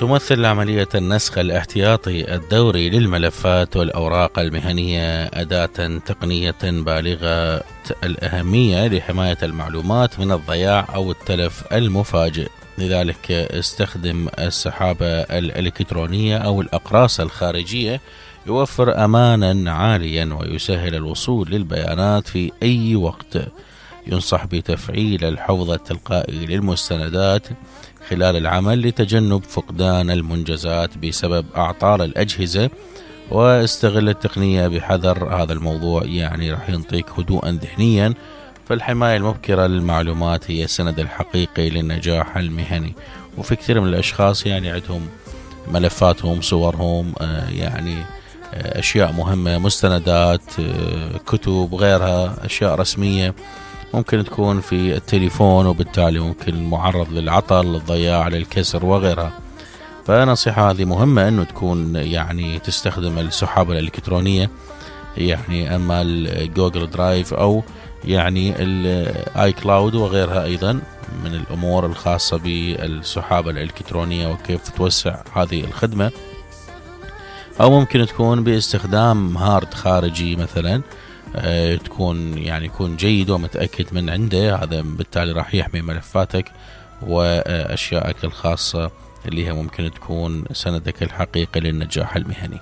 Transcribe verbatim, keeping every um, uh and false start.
تمثل عملية النسخ الاحتياطي الدوري للملفات والأوراق المهنية أداة تقنية بالغة الأهمية لحماية المعلومات من الضياع أو التلف المفاجئ. لذلك استخدم السحابة الإلكترونية أو الأقراص الخارجية، يوفر أمانا عاليا ويسهل الوصول للبيانات في أي وقت. ينصح بتفعيل الحفظ التلقائي للمستندات خلال العمل لتجنب فقدان المنجزات بسبب أعطال الأجهزة، واستغل التقنية بحذر. هذا الموضوع يعني راح ينطيك هدوءا ذهنيا، فالحماية المبكرة للمعلومات هي السند الحقيقي للنجاح المهني. وفي كثير من الأشخاص يعني عندهم ملفاتهم، صورهم، يعني أشياء مهمة، مستندات، كتب، غيرها أشياء رسمية ممكن تكون في التليفون، وبالتالي ممكن معرض للعطل، للضياع، للكسر وغيرها. فنصيحة هذه مهمة أنه تكون يعني تستخدم السحابة الإلكترونية، يعني أما الجوجل درايف أو يعني الاي كلاود وغيرها، أيضا من الأمور الخاصة بالسحابة الإلكترونية وكيف توسع هذه الخدمة. أو ممكن تكون باستخدام هارد خارجي مثلا، أه تكون يعني يكون جيد ومتأكد من عنده، هذا بالتالي راح يحمي ملفاتك وأشيائك الخاصة اللي هي ممكن تكون سندك الحقيقي للنجاح المهني.